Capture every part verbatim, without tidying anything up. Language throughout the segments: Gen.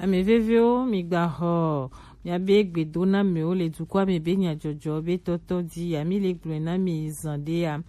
Ame vevewo, migbaxɔ miabe gbedonamewo le dukɔa me be nyajɔjɔ be tɔtɔ di ya. Mi le gblɔe na mi zan ɖe ya.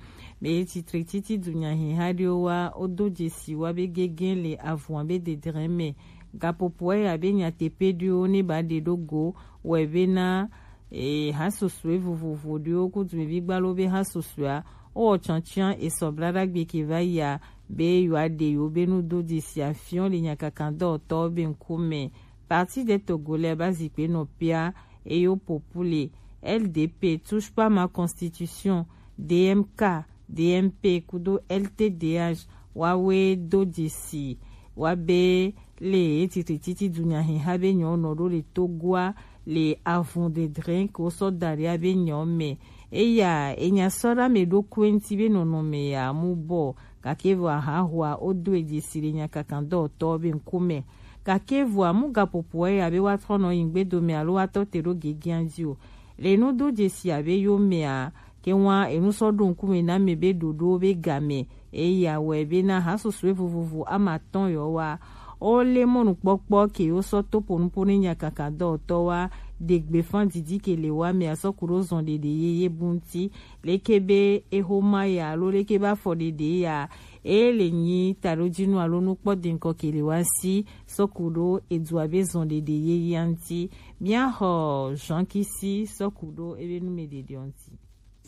Be titre titi dunyahiha ɖewo wa, wodo dzesi wa be gege le avua be dedre me. Gapopoa ya be nyateƒe ɖewo ne ba ɖe ɖo go wɔ be na e, ha susue vovovo ɖewo ku dumevi gbalo be ha susua wowɔ tsɔtsiã esɔ blaɖagbe ke va yia be yewoaɖe yewo be nudodzesi afiɔ le nyakakadɔwɔtɔwo be ŋkume. Parti des Togolais ba zikpe nɔ pia eye wo popule L D P, Touche pas ma constitution, D M K, D M P kudo L T D H wawe do dzesi wa be le etitrititi dunyahiha be nyɔ nɔ ɖo le Togoa le avun dedre ke wosɔ da ɖi abe nyɔ me. Eya enya sɔ ɖe ame ɖokui ŋuti be nɔnɔme ya mu bɔ, gake vɔ ahahua wodo e dzesi le nyakakadɔwɔtɔ be ŋkume. Gake vɔa mu gaƒoƒoa ya be woatrɔ nɔ yi ŋgbedome alo woatɔ te ɖo gegea dzi o. Le nudo dzesi abe yo mea, ke ŋua enu sɔ ɖo ŋkume na mi be ɖoɖo be game. Eya wɔe be na ha susue vovovo ama atɔ̃ yɔ wa, wo le mɔnukpɔkpɔ ke wo sɔ to ƒo nuƒo ne nyakaka dɔwɔtɔ wa, ɖe gbefa didi ke le wa mea sɔ ku ɖo zɔn ɖeɖe yeye bu ŋuti. Leke be eho ma ya alo leke be afɔ ɖeɖe ya, e le nyi taɖojinu alo nukpɔ deŋkɔ ke le wa si sɔ ku ɖo edua be zɔn ɖeɖe yeyea ŋuti. Mía xɔ Jean Kisi sɔ ku ɖo ebe nu me ɖeɖeɔ ŋuti.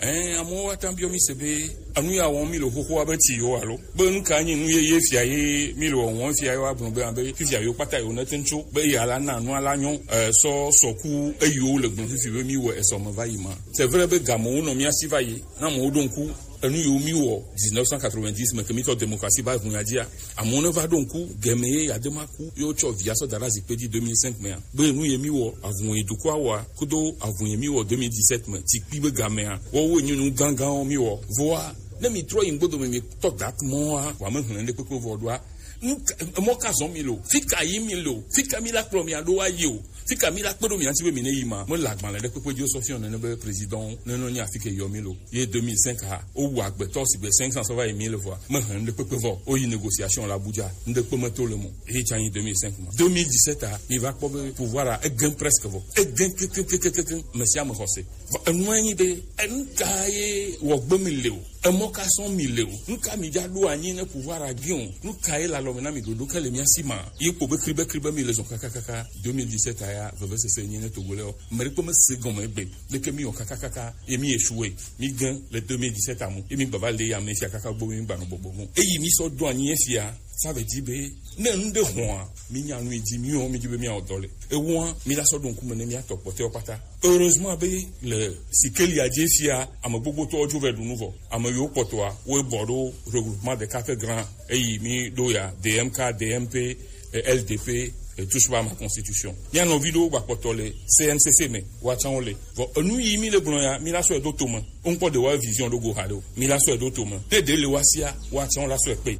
Ɛɛ, amewo wa ta biɔ mi se be enu ya wɔm mi le xoxoa be ti yo alo be nu ka nyi nu yeye fia ye mi le wɔwɔm fia ye wa gblɔ be abe fifia yo kpata yo ne te ŋtso be ya la na nu ala nyɔ, ɛɛ, sɔ sɔku eyiwo le gblɔ fifi be mi wɔ esɔ me va yi ma. C'est vrai be gamewo nɔ mía si va yi na amewo ɖo ŋku enu yiwo mi wɔ dix-neuf cent quatre-vingt-dix me ke mi tɔ démocratie va ʋu ya dzia. Amewo ne va ɖo ŋku gɛmɛ ye ya de ma ku ye wotsɔ via sɔ da ɖe zikpe dzi deux mille cinq mea be nu ye mi wɔ avun ye dukɔa wɔa kudo avun ye mi wɔ deux mille dix-sept me tsikpi be gamea wɔwo nyi nu gãgãwo mi wɔ. Voa ne mi trɔ yi ŋgbodo me mi tɔ dat mɔa wa me hlẽ ɖe kpekpe vɔ ɖoa. Mɔ ka zɔn mi lo, fika yi mi lo, fika mi la kplɔ mi aɖo wa yi o, fika mi la kpe ɖo mi ati be mi ne yi ma me le agbalẽ ɖe kpekpe dzi sɔ fiɔ nene be président ne nɔ nyi afike yɔ mi lo. Ye deux mille cinq ha, wowu agbetɔ sigbe cinq cents sɔ va yi mille vɔa, mehe ŋɖe kpekpe vɔ. Woyi négociation le Abuja, ŋɖe kpe meto le mo. Eye tsa nyi deux mille cinq ma. Deux mille dix-sept a, mi va kpɔ be pouvoir a, egẽ presque vɔ. Egẽ kekekekekekeŋ, mesiame xɔse. Vɔ, enua nyi be, enu ka ye wɔ gbe mi le o? Emɔ ka sɔn mi le o? Nu ka mi dza ɖo anyi ne pouvoir a gẽ o? Nu ka ye le alɔ me na mi ɖoɖo ke le mia si ma? Ye kpɔ be kribe kribe mi le zɔn kakakaka. Deux mille dix-sept a ya, vevesese nyi ne Togo le o. Ame ɖekpe mese gɔme egbe. Leke mi wɔ kakakaka ye mi échoué, mi gẽ le deux mille dix-sept amu ye mi gbava le ya me fia kaka gbɔ mi gbanɔ gbɔgbɔ mu. Eyi mi sɔ do anyi ye fia, ça veut dire be ne nu ɖe hɔa, mi nya nu yi dzi mi wɔ, mi dzi be mi awɔ dɔ le. Ewoa, mi la sɔ ɖo ŋkume ne mi atɔ kpɔtɔewo kpata. Heureusement be le Sikelia dzi fia, ame gbogbotɔwo dzo vɛ ɖu nu vɔ. Ame yiwo kpɔtɔa, wo bɔ ɖo regroupement des quatre grands. Eyi mi ɖo ya, D M K, D M P, eh, L D P, eh, Touche pas à ma constitution. Mía nɔvi ɖewo gba kpɔtɔ le C N C C me, woatsã wo le. Vɔ enu yi mi le gblɔ ya, mi la sɔe ɖo to me. Wo ŋkpɔ ɖe wa vision ɖo go ha ɖe o. Mi la sɔe ɖo to me. Te ɖe le wa sia, woatsã wo la sɔe kpe.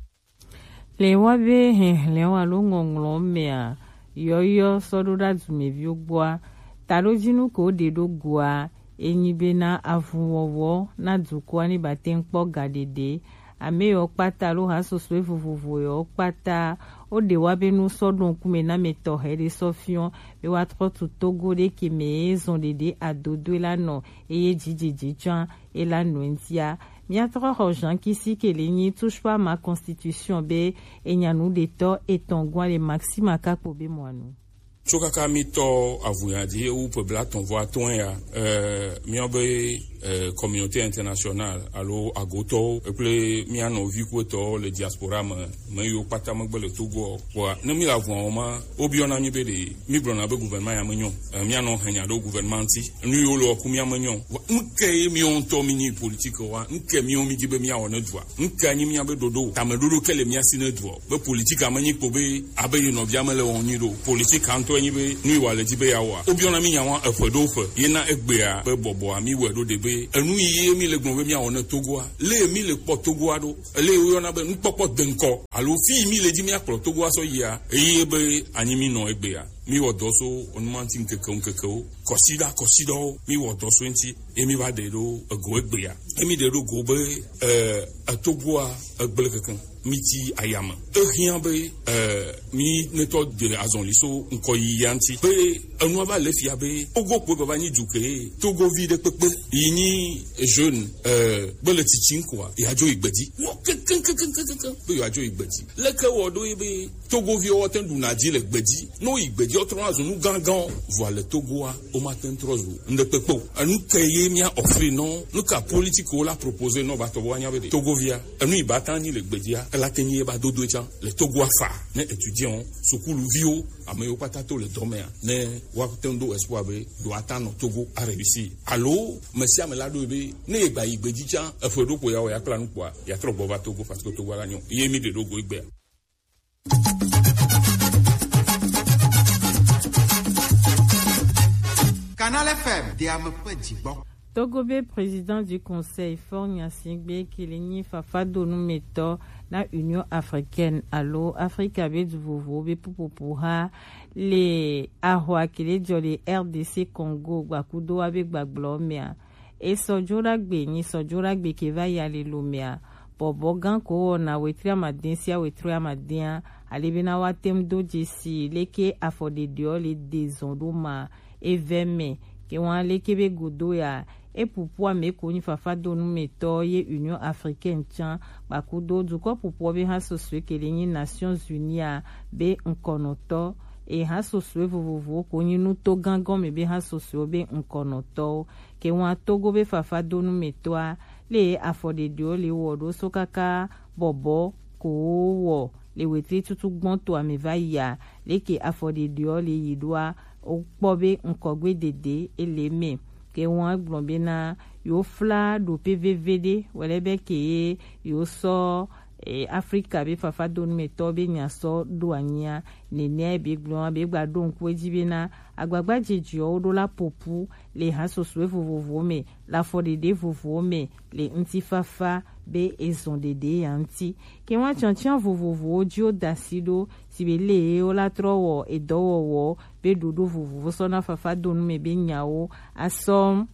Le wa be hɛhlɛwo alo ŋɔŋlɔ mea, yɔyɔ sɔ ɖo ɖa dumeviwo gbɔa, taɖojinu ko ɖe ɖo goa, enyi be na avunwɔwɔ na dukɔa ni ba te ŋkpɔ ga ɖeɖe. Ame yiwo kpata alo ha soso vovovo yiwo kpata, wo ɖe wa be nu sɔ ɖo ŋkume na mɛ tɔxɛ ɖe sɔ fiɔ be wa trɔ tu Togo ɖe ke mɛ ye zɔn ɖeɖe adodoe la nɔ eye dzidzedze tsã e la nɔ ŋutia. Mia trɔ xɔ Jean Kisi ke le nyi Touche pas à ma constitution be enya nu ɖetɔ etɔn gua le Maxima kakpo be mɔanu. Tso kaka mi tɔ avunya dzi ewu ƒe blatɔ̃ vɔ atɔ̃ ya, eh, míabe, eh, communauté internationale alo agotɔwo kple mía nɔvi kuwetɔwo le diaspora me, me yiwo kpata megbe le Togo o. Vɔa, ne mi le avua wɔm ma, wobiɔna mi be ɖe mi gblɔna be gouvernement ya menyo. Eh, mía nɔ henya ɖo gouvernement ŋuti. Nu yiwo le wɔku mía menyo. Vɔ, nu ke ye míawo ŋutɔ mi nyi politique wa? Nu ke míawo mi dzi be míawɔ ne dua? Nu ke nyi míabe ɖoɖo? Tameɖoɖo ke le mía si ne dua? Be politique ame nyi kpo be abe ye nɔvia me le wɔm nyi ɖo. Politique ŋutɔ nyi be nu yi wa le dzi be ya wɔa. Wobiɔna mi nya wa eƒe ɖo ƒe. Ye na egbea be bɔbɔa mi wɔe ɖo ɖe be enu yi ye mi le gblɔ be míawɔ ne Togoa. Le mi le kpɔ Togoa ɖo. Ele woyɔna be nukpɔkpɔ deŋkɔ. Alo fi yi mi le dzi míakplɔ Togoa sɔ yia. Eye be anyi mi nɔ egbea. Mi wɔ dɔ so onuma ŋuti ŋkeke ŋkeke wo, kɔsiɖa kɔsiɖawo, mi wɔ dɔ so eŋuti, ye mi va ɖe ɖo ego egbea. Ye mi ɖe ɖo go be, eh, etogoa egble keke, mi ti ayame. Ehiã be, eh, mi netɔ de azɔli so ŋkɔ yiyia ŋuti. Be enua va le fia be, Togo kpoe baba nyi du ke, Togovi ɖe kpekpe, yi nyi jeune, eh, be le tsitsi ŋkɔa, ya dzo yi gbedzi. Wɔ kekeŋ, kekeŋ, kekeŋ, be ya dzo yi gbedzi. Leke wɔ ɖo ye be, Togoviwo woate ŋu ɖuna dzi le gbedzi. Ne woyi gbedzi, wotrɔna zu nu gãgãwo. Vɔa le Togoa, womate ŋu trɔ zu ŋɖekpekpe o. Enu ke ye mía offrir nɔ, nu ka politique wo la proposer nɔ va tɔ be woanya be ɖe Togovia, enu yi bata nyi le gbedzia, ela te nyi ye ba dodo tsã le Togoa fa. Ne étudiant, sukuluviwo, ame yiwo kpata to le dɔ mea, ne woate ŋu ɖo espoir be ɖo ata nɔ Togo a réussir. Alo, mesiame la ɖo be, ne ye gba yi gbedzi tsã, eƒe ɖo ko ya wɔ ya kpla nu kpoa, ya trɔ gbɔ va Togo, parce que Togo la nyɔ. Ye mi ɖe ɖo go egbea. Canal F M, de ame ƒe dzigbɔ. Togo be président du conseil Faure Gnassingbé ke le nyi fafadonumetɔ na Union africaine alo Afrika be du vovowo be ƒuƒoƒo ha le ahwa ke le dzɔ le R D C Congo gbakudo wa be gbagblɔ mea. Esɔ dzo ɖagbe, nyi sɔ dzo ɖagbe ke va yi alilomea, bɔbɔ gã ko wɔna wetri amadin sia wetri amadin a, ale bena woate ŋu do dzesi leke afɔɖeɖeɔ le de zɔn ɖo ma evɛ mɛ. Ke wɔn leke be godo ya, epupu ame ko nyi fafadonumetɔ ye Union Africaine tsã, kpakudo dukɔ pupuɔ be ha sosoe ke le nyi Nations Unies a be ŋkɔnɔtɔ, e ha sosoe vovovowo ko nyi nuto gã gɔme be ha sosoe be ŋkɔnɔtɔwo. Ke wɔn Togo be fafadonumetɔa, le afɔɖeɖeɔ le wɔ ɖo so kaka bɔbɔ ko wɔ le wetri tutu gbɔn to ame va yia, leke afɔɖeɖeɔ le yi ɖoa, wokpɔ be ŋkɔgbe dede ele mɛ. Ke wɔn gblɔ bena yewo fla ɖope veve ɖe wɛlɛ be ke yewo sɔ e, Afrika be fafadonumetɔ be nya sɔ ɖo anyia. Nenea be gblɔa be gba ɖo ŋku edzi bena agbagba jejeɔ wo ɖo la popu le ha sosoe vovovowo me, le afɔɖeɖe vovovowo me, le ŋutifafa be ezɔn ɖeɖe ya ŋuti. Ke wɔn tiantian vovovowo dzi wo da asi ɖo, si be le wo la trɔ wɔ edɔwɔwɔ be ɖoɖo vovovo sɔ na fafadonu me be nyawo asɔ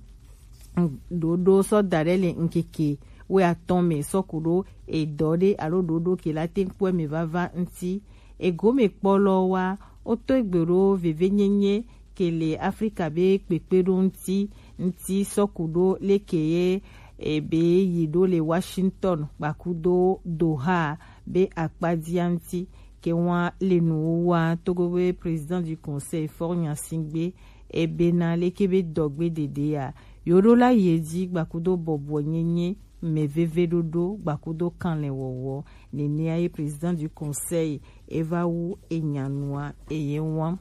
ɖoɖo sɔ da ɖe le ŋkeke wuiatɔ̃ me sɔ ku ɖo edɔ ɖe alo ɖoɖo ke la te ŋkpɔe me vava ŋuti. Egome kpɔlɔ wa, woto egbe ɖo vevenyenye ke le Afrika be kpekpe ɖo ŋuti ŋuti sɔ ku ɖo leke ye ebe yi ɖo le Washington kpakudo Doha be akpadia ŋuti. Ke wɔn le nuwo wa Togo be président du conseil Faure Gnassingbé ebe na leke be dɔgbe dede ya yo ɖo la ye dzi gbakudo bɔbɔ nyenye, mɛ veve ɖoɖo gbakudo kanlɛ wɔwɔ. Nenea ye président du conseil eva wu enyanua eye wɔn.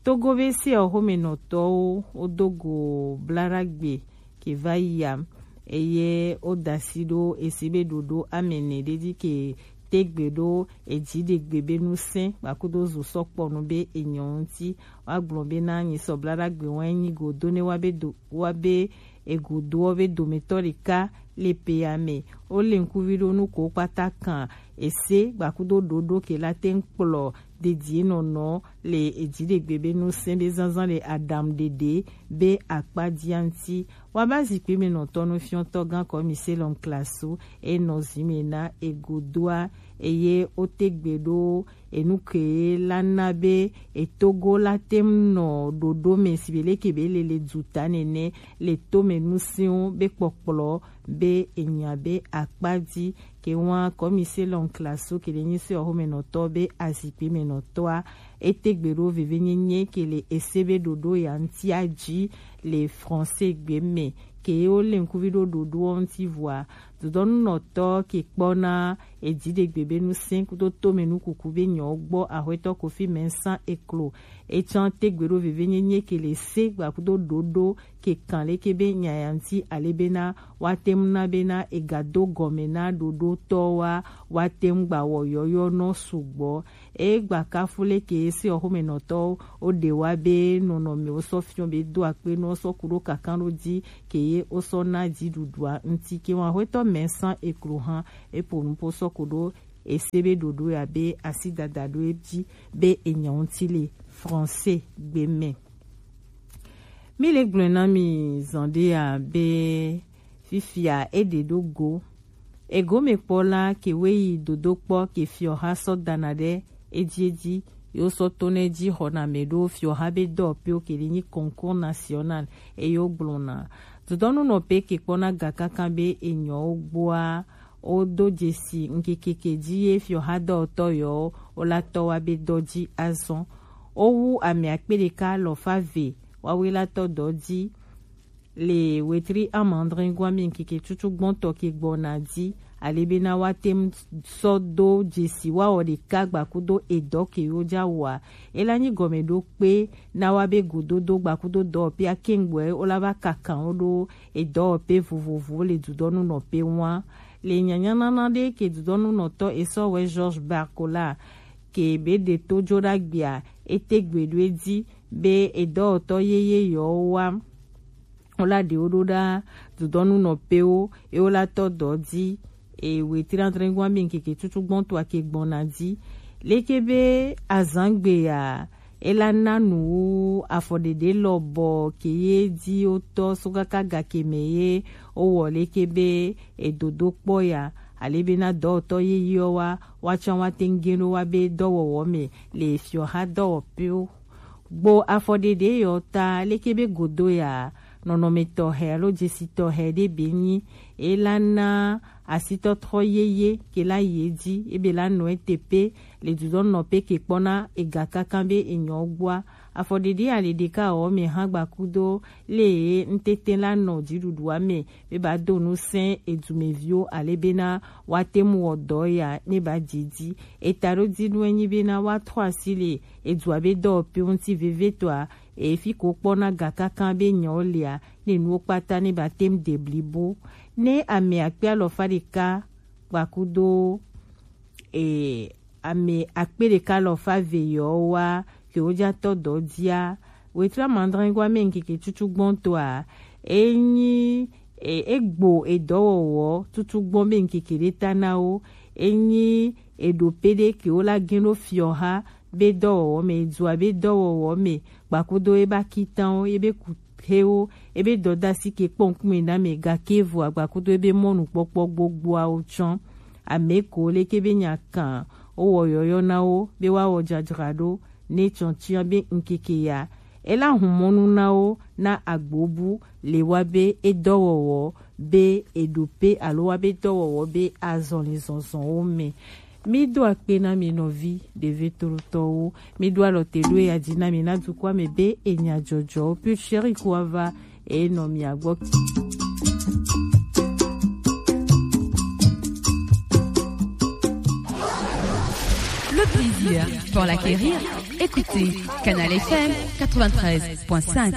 Togo be se oxomenɔtɔwo wodo go blaɖagbe ke va yi ya, eye woda asi ɖo esi be ɖoɖo amɛnɛ ɖe dzi ke tegbe ɖo edziɖegbe be nusẽ kpakudo zo sɔkpɔnu be enyɔ ŋuti. Woagblɔ be na nyisɔ blaɖagbe wɔn enyi go do ne wa be do wa be egodoɔ be dometɔ ɖeka le pea me. Wole ŋkuvi ɖo nu ko kpata kan ese gbakudo ɖoɖo ke la te ŋu kplɔ dedienɔnɔ le edziɖegbe be nusẽ be zazã le aɖaŋuɖeɖe be akpa dia ŋuti. Woaba zikpui me nɔtɔ nu fiɔtɔ gã kɔmi se lɔn klasu enɔ zi me na egodoa eye wote gbe ɖo enu ke la na be etogo la te ŋu nɔ ɖoɖo me si be leke be le le duta nene le tome nusiwo be kpɔkplɔ be enya be akpa dzi. Ke wa kɔmi se lɔn klasu ke le nyi se oxomenɔtɔ be azikpui me nɔtɔa ete gbe ɖo vevenyenye ke le ese be ɖoɖo ya ŋutia dzi le français gbe me ke wo le ŋkuvi ɖo ɖoɖoɔ ŋuti vɔa dodɔnunɔtɔ ke kpɔna edziɖegbe be nusẽ kudo tome nukuku be nyɔwo gbɔ axwetɔ Kofi Mensah eklo. Etsã tegbe ɖo vevenyenye ke le se gbakudo ɖoɖo ke kan leke be nya ya ŋuti ale bena woate ŋu na bena egado gɔme na ɖoɖotɔwoa woate ŋu gba wɔ yɔyɔ nɔ sugbɔ. Egba kafu leke se oxomenɔtɔwo woɖe wa be nɔnɔmewo sɔ fiɔ be do akpe nɔ sɔ ku ɖo kankan ɖo dzi ke ye wosɔ na dziɖuɖua ŋuti ke wa axwetɔ Mensah eklo hã epo nupo sɔ ku ɖo ese be ɖoɖo ya be asi dada ɖo edzi be enyɔ ŋuti le français gbe mɛ. Mi le gblɔe na mi zɔn ɖe ya be fifia e ɖe ɖo go. Egome kpɔ la ke we yi dodo kpɔ ke fiɔha sɔ dana ɖe edzi edzi, yo sɔ to ne dzi xɔna mɛ ɖo fiɔha be dɔwɔƒewo ke ɖi nyi concours national eyo gblɔna. Dodɔnu nɔ pe ke kpɔna ga kankan be enyɔwo gbɔa, wo do dzesi ŋkekeke dzi ye fiɔha dɔwɔtɔ yɔwo wo la tɔ wa be dɔ dzi azɔn. Wo wu ame akpe ɖeka alɔfa ve wawe la tɔ dɔ dzi le wetri amandringoa mi ŋkeke tutu gbɔntɔ ke gbɔna dzi, ale bena wa tem sɔ do dzesi wa wɔ ɖeka gbakudo edɔ ke yo dza wɔa. Ela nyi gɔme ɖo kpe na wa be gododo gbakudo dɔwɔƒe akeŋgbɔe wo la va kakan wo ɖo edɔwɔƒe vovovowo le dudɔnu nɔƒe ŋua. Le nyanyanana ɖe ke dudɔnu nɔtɔ esɔ wɛ Georges Barcola ke be ɖe to jo ɖa gbia, ete gbe ɖo edzi be edɔwɔtɔ yeye yɔwo wa wo la ɖewo ɖo ɖa dudɔnu nɔƒewo ye wo la tɔ dɔ dzi. E wetri adrɛngoa mi ŋkeke tutu gbɔntɔa ke gbɔna dzi. Leke be azangbe ya ela na nu wu afɔɖeɖe lɔbɔ ke ye dzi wotɔ so kaka gake mɛ ye wowɔ leke be edodo kpɔ ya, ale bena dɔwɔtɔ yeyeɔ wa, woatsã woate ŋu ge ɖo wa be dɔwɔwɔ me le fiɔha dɔwɔƒewo. Gbo afɔɖeɖe yɔ ta leke be godo ya nɔnɔme tɔxɛ alo dzesi tɔxɛ ɖe be nyi, ela na asitɔtrɔ yeye ke la yi edzi ebe la nɔ ete pe le dudɔnɔ pe ke kpɔna ega kankan be enyɔ gbɔa. Afɔɖeɖe ali ɖeka wɔ me hã gbakudo le ŋtete la nɔ dziɖuɖua me be ba do nu sɛn edumeviwo ale bena woate ŋu wɔ dɔ ya ne ba dze dzi. Eta ɖo dzi nu enyi bena woatrɔ asi le edua be dɔwɔƒewo ŋuti vevietɔa, efi ko kpɔna ga kankan be nyawo lia, ne nuwo kpata ne ba te ŋu de blibo. Ne ame akpe alɔfa ɖeka gbakudo e, ame akpe ɖeka alɔfa ve yɔwo wa ke wo dza tɔ dɔ dzia, wetri amadrɛngua me ŋkeke tutu gbɔntɔa, enyi e, egbo edɔwɔwɔ tutu gbɔn be ŋkeke ɖe ta na wo, enyi eɖo pe ɖe ke wo la gen ɖo fiɔha be dɔwɔwɔ me, edua be dɔwɔwɔ me, gbakudo ebe akitanwo, ebe kuxewo, ebe dɔdasi ke kpɔ ŋkume na me, gake vɔa gbakudo ebe mɔnukpɔkpɔ gbogboawo tsɔ. Ame ko leke be nya kan wowɔ yɔyɔ na wo be woawɔ dzadzraɖo ne tsɔtsiɔ be ŋkeke ya ela hun mɔnu na wo na agbobu le wa be edɔwɔwɔ be eɖo pe alo wa be dɔwɔwɔ be azɔlizɔzɔwo me. Mi do akpe na mi nɔvi ɖevi tolotɔwo. Mi do alɔ te ɖo ya dzi na mi na dukɔa me be enya dzɔdzɔwo. Pure Chérie ko ava e nɔ mia gbɔ. Le plaisir pour l'acquérir. Écoutez Canal F M quatre-vingt-treize point cinq.